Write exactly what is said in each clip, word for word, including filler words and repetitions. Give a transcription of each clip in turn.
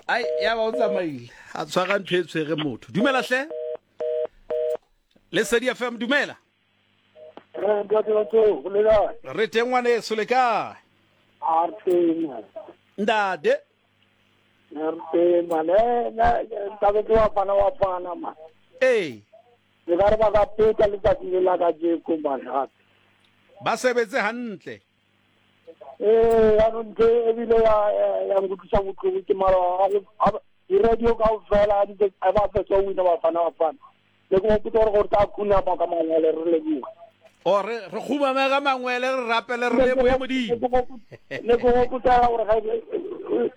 Ai, ya ba o tsamaile. A tshwara ntho e tshwere motho. Dumela hle. Lesedi F M, dumela. Re teng ngwaneso, le kae? Ntate. Ee. Ba sebetse hantle. Eh, ya ntho ebile ya ya nkutlwisa bohloko ke mara di-radio kaofela a ba fetsa ho wina Bafana Bafana. Le ke hopotsa hore gore tla khuna ba ka mangwele re lebohe. O re re khumame ka mangwele re rapele re lebohe Modimo. Ne ke hopotsa hore ga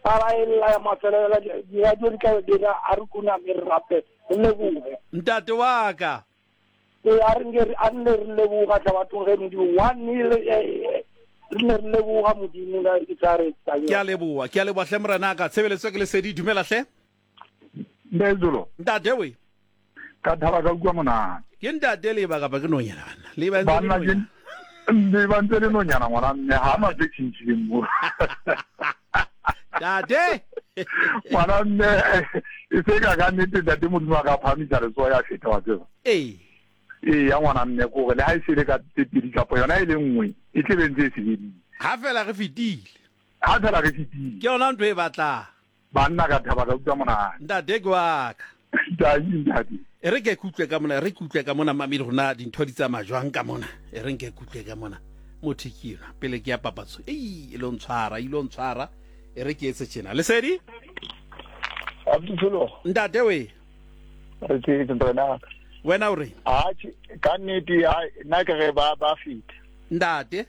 para e lla ya mafelelo di-radio di tla dira a re khuname re rapele re lebohe. Ntate wa ka. E a re nke a nne re leboga tla bathong ge Modimo one nil re ne re leboga Modimo la ke tla re tsaya. Ke a leboha, ke a leboha hle morena ka. Tshebeletso ke Lesedi, dumela hle. Ndezolo. Ntate we. Ka thaba ka utlwa monate. Ke ntate le ba kapa ke nonyana bana. Le ba ntse le nonyana. Le ba ntse le nonyana ngwana mme ha ma tse tshintshileng mo. Ntate. Ngwana mme e se ka ka nnete ntate Modimo a ka phamisa letsoho ya feta wa tseba. Ee. Ee ya ngwana mme ko re le ha e sele ka tse pedi kapa yona e le nngwe e tle be ntse e sebedile. Ha fela re fetile. Ha fela re fetile. Ke yona ntho e batlang. Banna ka thaba ka utlwa monate. Ntate ke wa ka. Ntate ntate. E re ke kutlwe ka mona, re kutlwe ka mona mamedi rona dintho di tsamaya jwang ka mona. E re nke kutlwe ka mona. Motho ke yona pele ke ya papatso. Ei, e lo ntshwara, e lo ntshwara. E re ke etse tjena. Lesedi? Abdullo. Ntate we. Re tse ntrena. Wena o re? Atjhe, ka nnete nna ke re ba ba fita. Ntate?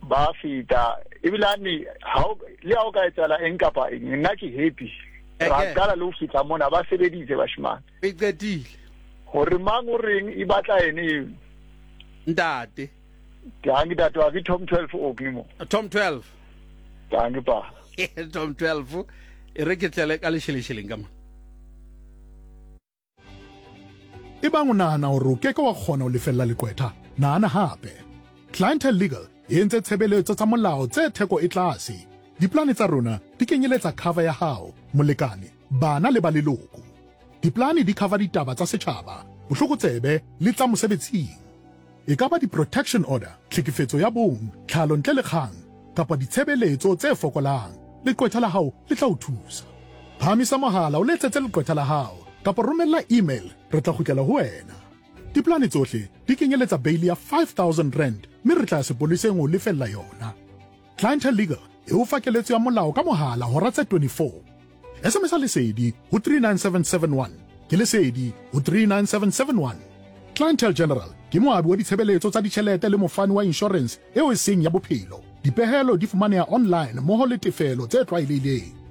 Ba fita. Ebile ane ha le ha o ka etsala eng kapa eng, nna ke happy. Ra qala le ho fihla mona ba sebeditse bashimane. E qetile. Hore mang o reng e batla ene eo. Ntate. Ke ntate wa ke Tom twelve o ke mo. Tom twelve. Ke pa. Tom twelve. E re ke tlele ka leshelesheleng ka mona. Ebang o nahana hore o ke ke wa kgona ho lefella leqwetha, nahana hape. Clientele Legal e entse tshebeletso tsa molao tse theko e tlase. Diplane tsa rona di kenyeletsa cover ya hao, molekane, bana le ba leloko. Diplane di cover ditaba tsa setjhaba, bohlokotsebe le tsa mosebetsing. E ka ba di-protection order, tlhekefetso ya bong, tlhalo ntle le kgang, kapa ditshebeletso tse fokolang. Leqwetha la hao le tla o thusa. Phahamisa mohala o letsetse leqwetha la hao kapa romella email, re tla kgutlela ho wena. Diplane tsohle di kenyeletsa bail ya five thousand rand mme re tla ya sepoleseng ho lefella yona. Clientele Legal e o fa keletso ya molao ka mohala hora tse twenty-four. S M S Lesedi ho three nine seven seven one. Ke Lesedi ho three nine seven seven one. Clientele General ke moabi wa ditshebeletso tsa ditjhelete le mofani wa insurance eo e seng ya bophelo. Dipehelo di fumaneha online mmoho le tefelo tse tlwaelehileng.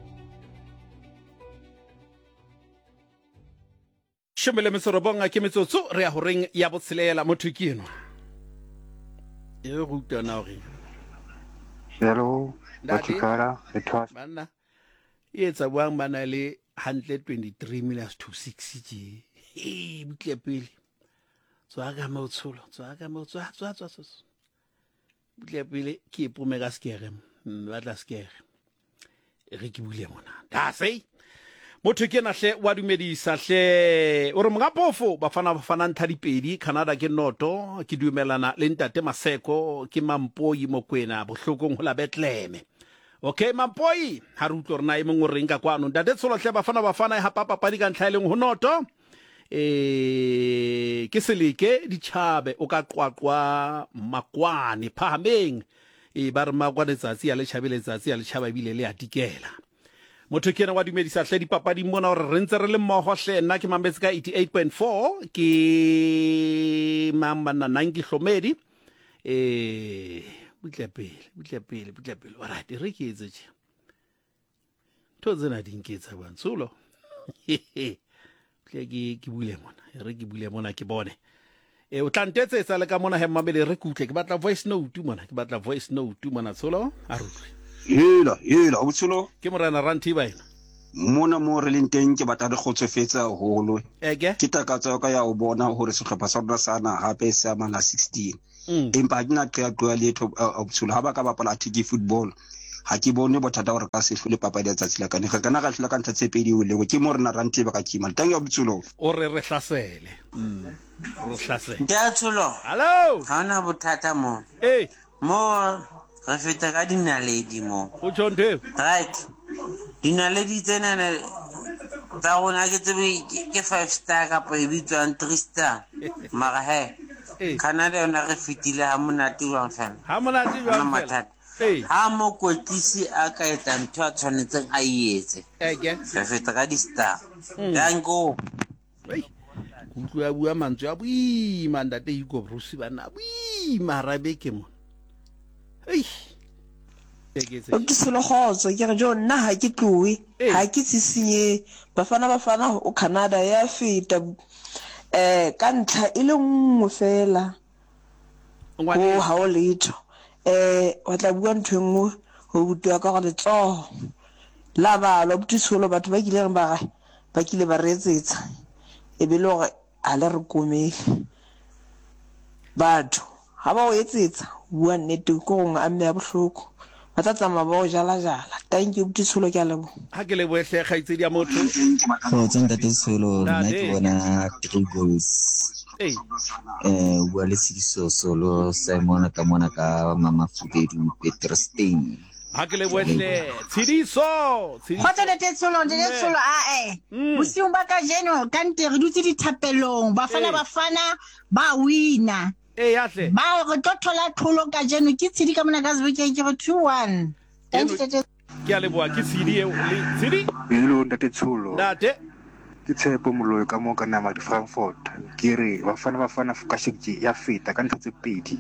Shome le metso robong ke metsotso re ya horeng ya botshelela motho ke enwa. E re utlwa na hore. Hello, Batikara, Ethwas. Banna. E etsa buang bana le hantle twenty-three minutes to six tje. E butle pele. Tswa ka mo tsholo, tswa ka mo tswa tswa tswa tswa. Butle pele ke ipome ka skere, ba tla skere. Re ke bule mona. Da sei. Motho ke na hle wa dumedisa hle o re monga pofo Bafana Bafana ntlha dipedi Canada ke noto ke dumelana le ntate Maseko ke Mampoi Mokwena bohlokong ho la Bethlehem. Okay Mampoi ha re utlwe rena e mong o reng ka kwano ntate Tsholo hle Bafana Bafana e hapa papadi ka ntlha e leng ho noto eh ke seleke ditjhabe o ka qwaqwa makwane phahameng e ba re makwane tsatsi ya le tjhabe letsatsi ya le tjhaba ebile le a dikela. Motho ke yena wa dumedisa hle dipapading mona hore re ntse re le mmoho hle nna ke mametse ka eighty-eight point four ke mang banna Nanki Hlomedi eh butle pele butle pele butle pele alright re ke etse tje ntho tsena di nketsa bang tsholo tle ke ke bule mona re ke bule mona ke bone e o tla ntetsetsa le ka mona he mmamele re kutle ke batla voice note mona ke batla voice note mona tsholo a re utlwe. Hela, hela, o tsholo. Ke morena Rantiba ena. Mona mo re leng teng ke batla re kgotsofetse haholo. Eke. Ke takatso ka ya o bona hore sehlopha sa rona sa naha hape se amana sixteen. Mm. Empa ha ke na qeaqeo ya letho, o tsholo ha ba ka bapala attacking football. Ha ke bone bothata gore ka se hlole papadi ya tsatsi la kane. Re kana ra hlola ka ntlha tse pedi o lengwe. Ke mo rena rante ba ka kima. Thank you Tsholo. O re re hlasele. Mm. Re hlasele. Ntate Tsholo. Hello. Ha ona bothata mo. Eh. Mo re feta ka dinaledi mo. O tjho ntho. Right. Dinaledi tsena tsa rona ke tsebe ke five star kapa e bitswang three star. Mara he Canada yona re fetile ha monate jwang fela. Ha monate jwang fela. Ha mokwetlisi a ka etsa ntho a tshwanetseng a e etse. Re feta ka di-star. Danko. Ei. Utlwa bua mantswe a boima ntate Hugo Bruce bana boima rabeke mo. Ei. Ke selo kgotso ke re jo nna ha ke tloe ha ke tsisinye Bafana Bafana o Canada ya feta eh ka ntlha e le nngwe fela go ha o letho eh wa tla bua ntho e nngwe ho butiwa ka gore letsoho la balwa botsholo batho ba kile reng ba ba kile ba re etsetsa e be le hore ha le re komele batho ha ba o etsetsa bua nnete ko gongwe a mme ya bohloko ba tla tsamaya ba o jala jala. Thank you Tsholo, ke a leboha. Ha ke lebohe hle kgaitsedi ya motho. Kgotso ntate Tsholo, nna ke bona three goals. Ee. Eh bua le Tshidiso Solo Simon ka mona ka Mama Fubedu Petrstein. Ha ke lebohe hle Tshidiso. Kgotso ntate Tsholo, ntate Tsholo a eh. Bosiung ba kajeno ka nte re dutse dithapelong, Bafana Bafana ba wina. E ya hle. Ba re tlo thola tlholo kajeno ke Tshidi ka mona ka Sebokeng ke re two one. Thank you ntate. Ke a leboha ke Tshidi eo le Tshidi. Hello ntate Tsholo. Ntate. Ke Tshepo Moloi ka mo ka nama di Frankfurt. Ke re Bafana Bafana ka shekje ya feta ka ntlha tse pedi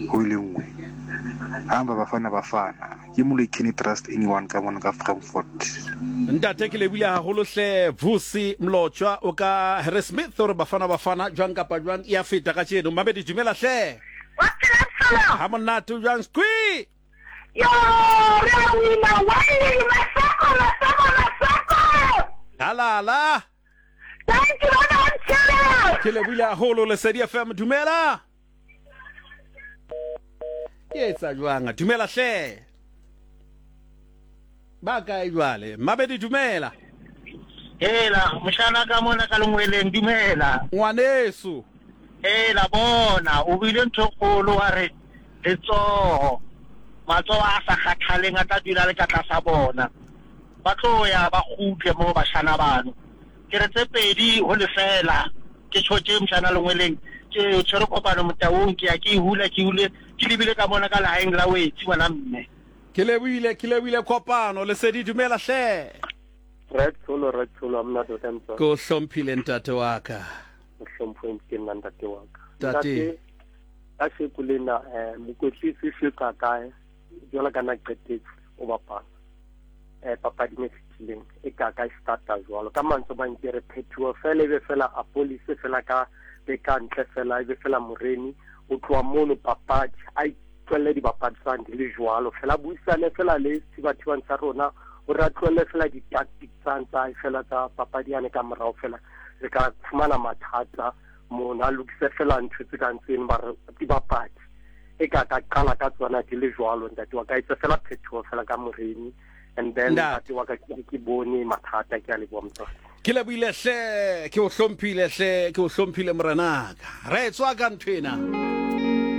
ho ile nngwe. Hamba Bafana Bafana. Ke Moloi can trust anyone ka mona ka Frankfurt. Ntate ke lebile haholo hle Vusi Mlotshwa o ka Harry Smith hore Bafana Bafana jwang kapa jwang ya feta ka tjeno. Mabedi dumela hle. Wa phela Tsholo. Ha monate jwang squi. Yo re a wina one masako masako masako. La la la. Thank you baba Tsholo. Ke lebile haholo Lesedi F M dumela. Ke etsa jwang dumela hle. Ba kae jwale Mabedi dumela. Hela moshana ka mona ka lengweleng dumela. Ngwaneso. Hela bona o bile ntho kgolo wa re letsoho matsoho a sa kgathaleng a tla dula le ka tlasa bona. Ba tlo ya ba kgutle mo bashana bano. Ke re tse pedi ho lefela ke tshotse moshana lengweleng ke tshwere kopano motaung ke ya ke hula ke hule ke lebile ka mona ka lehaeng la wetsi ngwana mme. Ke lebohile ke lebohile kopano Lesedi dumela hle. Re Tsholo re Tsholo mna tota ntse. Ko hlomphile ntate wa ka. O hlomphwe ke nna ntate wa ka. Ntate ka sheko lena eh mokwetlisi se ka kae jwalo ka na qetetse o bapala. Eh papadi e fetileng e ka ka starta jwalo ka mantswe ba nke re phethuwa fela ebe fela a police fela ka be ka ntle fela ebe fela Moreni o tloa mono papadi a tloelle dibapadi tsane di le jwalo fela buisane fela le sethibathibang sa rona o re a tloelle fela di-tactics tsane tsa fela tsa papadi yane ka morao fela re ka fumana mathata mona a lokise fela ntho tse kang tseno ba re dibapadi e ka ka qala ka tsona di le jwalo ntate wa ka etsa fela phethoho fela ka Moreni and then ntate wa ka ke bone mathata ke a leboha motswadi. Ke lebohile hle ke o hlomphile hle ke o hlomphile morenaka. Re tswa ka ntho ena.